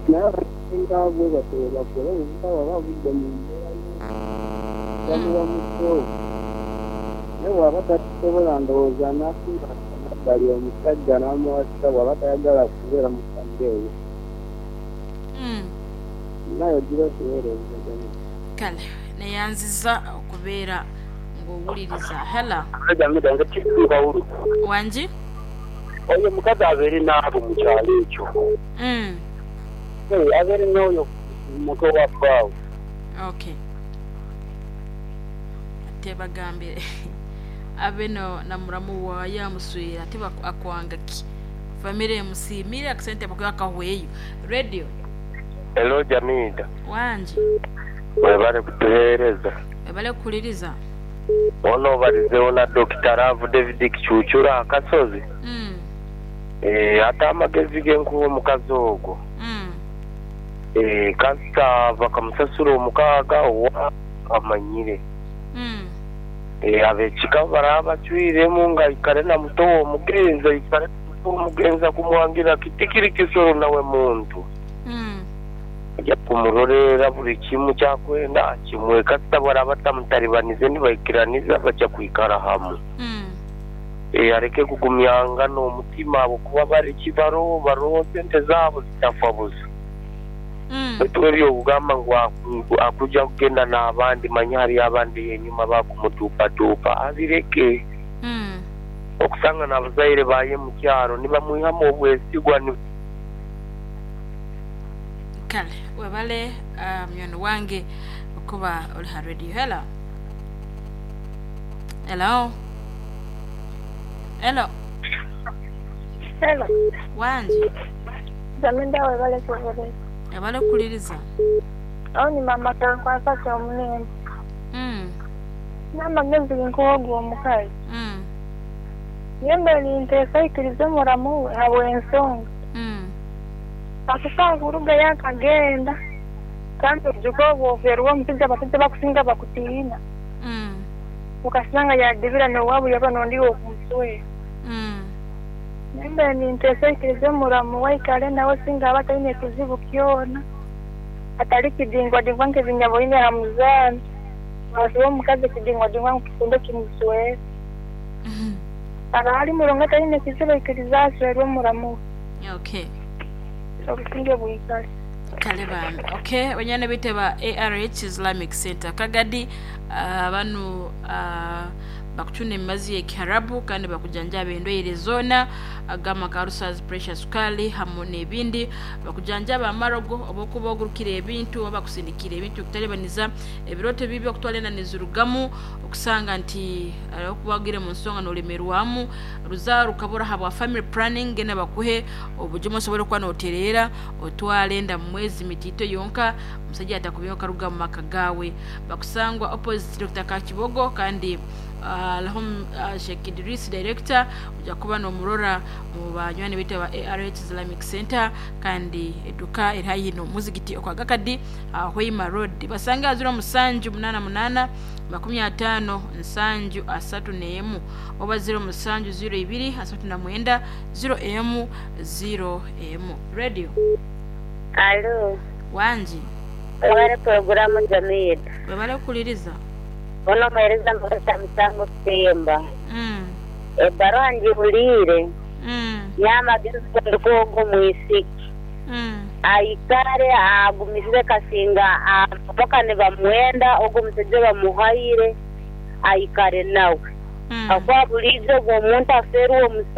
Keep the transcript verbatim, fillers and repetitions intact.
Naye abasinga bwe batyo bwe bakora, omuvubuka bw'aba avudde mu mbeera bamuwa muto, naye bw'aba takisobola ndowooza n'afuna emabbali omusajja n'amuwasa bw'aba tayagala kubeera mu famire eyo. Mm. Naye ogira otuweereza, Jamil. Kale neyanziza okubeera ng'owuliriza. Hello. Jamida, nze Kawulu. Wangi. Oyo omukazi abeere n'abo mu kyalo ekyo. Mm. Eh, abeere n'oyo muto wa bbaawe. Okay, ate bagambire abe no na muramu waye amuswera, ate baku- akwanga ki? Famire emusiimire, akasente bakuba akahweyo. Radio. Hello, Jamida. Wangi. Webale kutuheereza. Webale kukuliriza. Ono obalizeewo na Dokita Love David Kicucura akasozi. Mm. Eh, ate amagezi genkuwa omukazi ogwo. Mm. Eh, kasita bakamusasula omukaaga owa amanyire. Mm. Eh, ab'ekika baraba bacwiremu nga aikare na muto w'omugenzi, aikare na muto w'omugenzi akumwangira kitikiri kisoro nawe muntu. Mm. Ajja kumuroleera buli kimu kyakwenda akimuwe, kasita baraba batamutalibanyize nibaikiraniza bajja kwikara hamu. Mm. Eh, areke kugumyangana omutima abo kuba bari kibaro baroho sente zaabo zitafa busa. Mm. Baitu ebyokugamba ngu aku- akuja kugenda n'abandi, manya hariyo abandi enyuma bakumutuupatuupa, abireke. Mm. Okusanga n'abazaire baye mu kyaro nibamwihamu obwesigwa ni Kale webale, uh, munywani wange okuba oli ha radio. Hello, hello, hello. Hello. Wangi. Jamida, webale kuwereza. Webale kukuliriza. Awo ni mama kankwasa kyomulembe. Mm. N'amagezi nkuwa ogwo omukazi. Mm. Yembe ninteesa aikirize muramu we habw'ensonga. Mm. Akusaaba kuruga yakagenda. Kandi oijuke obwo ofeerwa omushaija, abashaija bakusinga bakutiina. Mm. Ukasanga yadibira n'owaabo yaba n'ondi w'okumuswera. Mm. Yembe ninteesa aikirize muramu we aikare nawe singa aba ataine kizibu kyona. Atari kidingwadingwa nk'ebinyaboine aha muzaano. Wasiba omukazi kidingwadingwa ngu kikunde kimuswere. Mm. Aba ari murungi ataine kizibu, aikirize aswerwe muramu we. Okay. Obusinge bwikare. Kale bambi. Okay, banyana bite ba A R H Islamic Center Kagadi, uh, banu uh, bakucuna emibazi y'ekiharabu kandi bakujanjaba endwaire zoona agama karusazi, pressure, sukali hamu n'ebindi. Bakujanjaba amarogo, oba okuba ogurukire ebintu oba bakusindikira ebintu okutalibaniza ebirooto bibi, okutwala enda nizirugamu, okusanga nti eh, okuba ogire mu nsonga nolemerwamu, ruzaaro rukabura habwa family planning. Genda bakuhe obujumu osobole okuba notereera, otwale enda mu mwezi mitiito yonka, omusajja atakubye okaruga mu maka gaawe. Bakusangwa opposite Doctor Kakibogo kandi uh, lahum uh, Sheikh Idris director ojja kuba nomurora mu banywani bitu ba A R H Islamic Center, kandi eduka eri haihi n'omuzigiti okwagakadi, uh, Hoima Road. Basanga ziro musanju munana munana makumi ataano nsanju asatu n'emu oba ziro musanju ziro ibiri asatu na mwenda ziro emu ziro emu. Radio. Alo. Wangi. Webale poroguramu, Jamida. Webale kukuliriza. Ono muhereza Mugasa Musango Kutemba. mm. Ebbaruha ngihuliire. Mm. N'amagezi ndikuwa ogwo mwisiki. Mm. Aikare agumisire kasinga paka nibamwenda ogwo omusajja bamuhaire aikare nawe. Mm. Akuba buliijo ogwo omuntu afeerwa omusajja.